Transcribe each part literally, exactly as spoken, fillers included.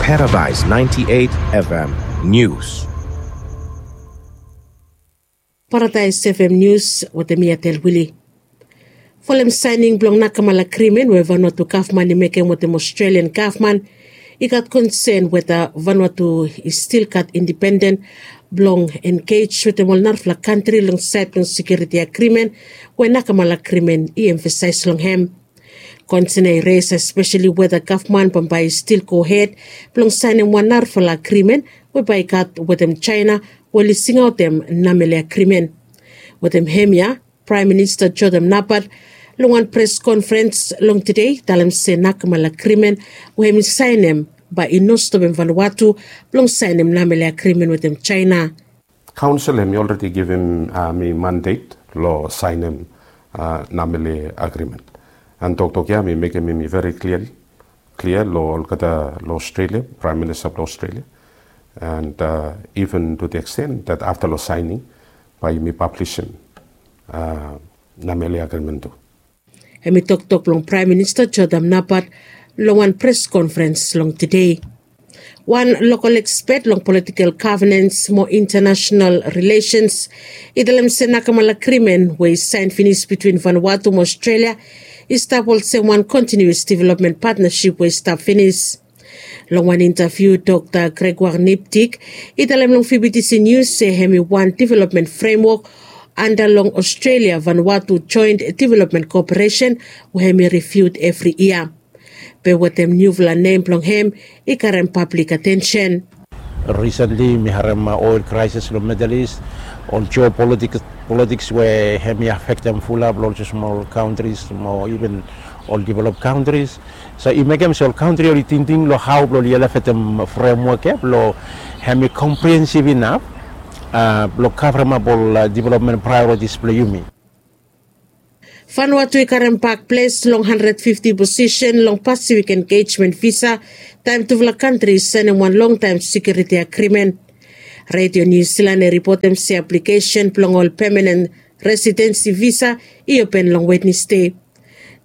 Paradise ninety-eight F M News. Paradise F M News wetem mi Atel Wili. Folem saening blong nakamala agrimen we Vanuatu gavman i mekem wetem Australian gavman, i gat konsen weta Vanuatu i stil gat independen blong engej wetem ol narafala kantri long saed blong sekiuriti agrimen we nakamala agrimen i emfasaes long hem. Konsen ya i res espeseli weta gavman bambae i stil gohed blong saenem wan narafala agrimen we bae i gat wetem Jaena we oli singaotem Namele agrimen. Wetem hemia Praem Minista Jotham Napat long wan pres konferens long tede i talem se nakamala agrimen we hem i saenem bae i no stopem Vanuatu blong saenem Namele agrimen wetem Jaena. Kaonsel hem i olredi givim mi mandet long saenem Namele agrimen. An toktok ya mi mekem hem i veri klia klia long olgeta long Australia, Praem Minista blong Australia. And even to the extent that afta long saening bae yumi pablisim Namele agrimen tu. Hem i toktok blong Praem Minista Jotham Napat long wan pres konferens long tede. Wan lokol ekspet long politikel gavenens mo intanasenal rilesens i talem se nakamala agrimen we i saen finis bitwin Vanuatu mo Australia i stap olsem wan kontinius developmen patnasip we i stap finis. Long wan intaviu Dokta Gregoire Niptik i talem long V B T C News se hem i wan developmen fremwok anda long Australia Vanuatu joent developmen koperesen we hem i riviu evri yia. Be wetem niufala nem blong hem i karem pablik atensen. Risentli mi harem oil kraesis long Middle East, ol jeopolitiks we hem i afektem fulap long ol smol kantris mo iven ol develop kantris. So i mekem se ol kantri oli tingting long hao blong oli elevetem fremwok ya blong hem i komprihensiv inaf blong kavremap ol developmen praeoritis blong yumi. Vanuatu i karem bak ples long handred fifti posisen long Pasifik engejmen visa taem tufala kantri i saenem wan longtaem sekiuriti agrimen. Redio Niu Silan i ripotem se aplikesen blong ol pemanen residensi visa i open long Wednesde.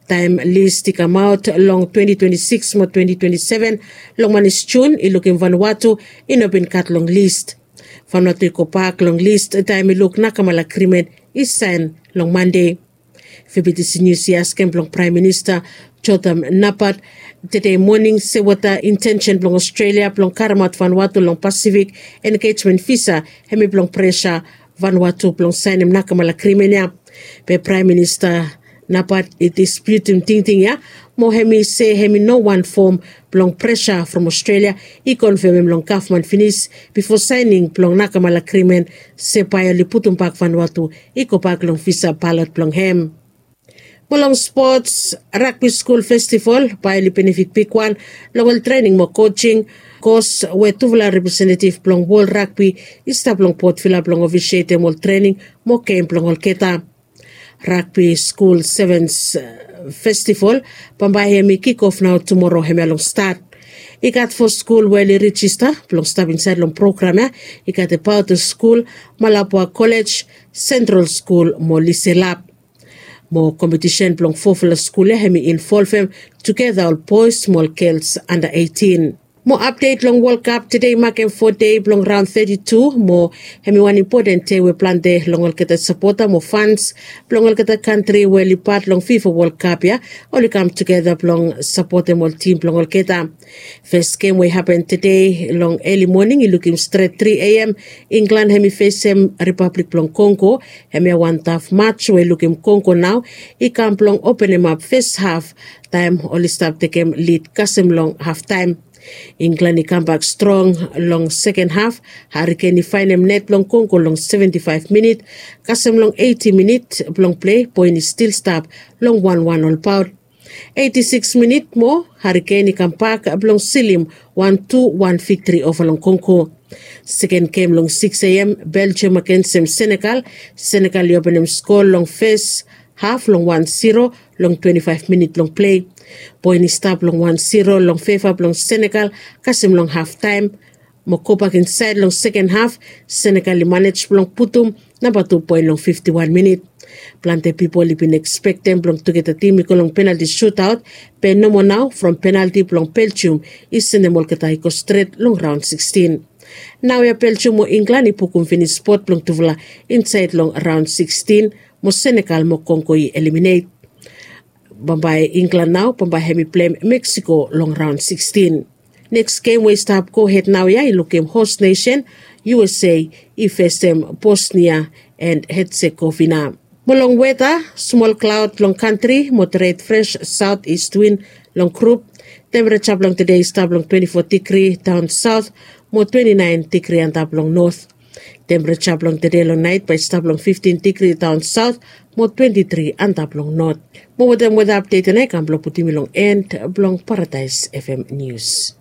Taem list i kamaot long twenti twenti sikis mo twenti twenti seven long manis Jun i lukim Vanuatu i no bin gat long list. Vanuatu i gobak long list taem i luk nakamala agrimen i saen long Mande. V B T C News i askem blong Praem Minista Jotham Napat tede moning se weta intensen blong Australia blong karemaot Vanuatu long Pasifik engejmen visa hem i blong presa Vanuatu blong saenem nakamala agrimen ya. Be Praem Minista Napat i dispiutim tingting ya mo hem i se hem i no wan fom blong presa from Australia i konfemem long gavman finis bifo saening blong nakamala agrimen se bae oli putumbak Vanuatu i gobak long visa balot blong hem. Mo long spots, ragbi skul festival bae oli benefit bigwan long ol trening mo kojing kos we tufala representetiv blong wol ragbi i stap long Port Vila blong ofisietem ol trening mo gem blong olgeta. Ragbi skul sevens festival bambae hem i kikof nao tumoro hemia long stat. I gat fo skul we oli rijista blong stap insaed long program ya. I gat Epaoto skul, Malabwa Kolej, Sentral skul mo Liselap. Mo kompetisen blong fofala skul ya hem i involvem tugeta ol boes mo ol gels anda eitin. Mo apdet long Wol Kap, tede i makem fo dei blong raon teti tu mo hem i wan impoten dei we plante long olgeta sapota mo fans blong olgeta kantri we oli pat long fifa Wol Kap ya oli kam tugeta blong sapotem ol tim blong olgeta. Fes gem we i hapen tede long eli moning i lukim stret tri A M, Inglan hem i fesem Ripablik blong Kongo. Hemia wan taf mats we i lukim Kongo nao i kam blong openemap fes haf taem oli stap tekem lid kasem long haftaem. Inglan i kambak strong long seken haf. Hariken i faenem net blong Kongo long seventi faef minit. Kasem long eiti minit blong plei, poen i stil stap long wan wan olbaot. Eiti sikis minit mo Hariken i kambak blong silim wan tu wan viktri ova long Kongo. Seken gem long sikis A M, Beljiam agensem Senegal. Senegal i openem skoa long fes haf long wan siro long twenti faef minit blong plei. Poen i stap long wan siro long feva blong Senegal kasem long haftaem. Mo gobak insaed long seken haf, Senegal i manej blong putum namba tu poen long fifti wan minit. Plante pipol i bin ekspektem blong tugeta tim i go long penalti sutaot, be nomo nao from penalti blong Belgium i sendem olgeta i go stret long raon sikstin. Naoia Belgium mo Inglan i pukum finis spot blong tufala insaed long raon sikstin, mo Senegal mo Kongo i eliminate. Bambae Inglan nao bambae hem i pleim Meksiko long raon sikstin. Neks gem we i stap gohed naoia i lukim hos nesen, USA i fesem Bosnia and Herzegovina. Mo long weta, smol klaod long kantri, moderet fres saot ist win long grup. Tempereja blong tede i stap long twenti fo digri daon saot, mo twenti naen digri antap long not. Tempereja blong tede long naet bae i stap long fiftin digri daon saot, mo twenti tri antap long not. Mo wetem weta apdet ya nao i kam blong putum yu long en blong Paradaes FM nius.